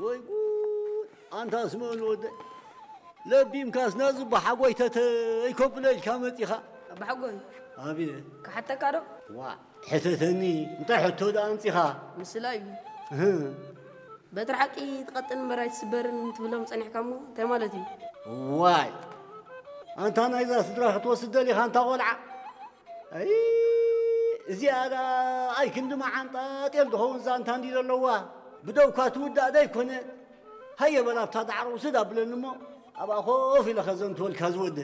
ወይ ጉድ! ኣንታ ስምኦን ወደይ፣ ለቢምካስ ነዚ ኣቦሓጎይ ተተይ ከብሎ ኢልካ መጺኻ። ኣቦሓጎይ፣ ኣቤት። ክሓተካ ዶ? ዋእ፣ ሕተተኒ። እንታይ ሕቶ ደኣ ኣምጺኻ? ምስላ እዩ። እህ። በትሪ ሓቂ ትቐጥን እምበር ኣይትስበርን ትብሎም ጸኒሕካ እሞ እንታይ ማለት እዩ? ዋይ፣ ኣንታ ናይዛ ስድራ ክትወስድ ደሊኻ ኣንታ ቆልዓ? ኣይ፣ እዚኣ ደኣ ኣይ ክንዲ መዓንጣ ጤል ዝኸውን ዛንታ እንዲ ዘለዋ። ብደውካ ትውዳእ ዶ ኣይኮነ? ሃየ በላ ኣብታ ዳዕሮ ውስድ ኣብለኒ እሞ ኣብኣ ኮፍ ኢለ ከዘንትወልካ ዝወዲ።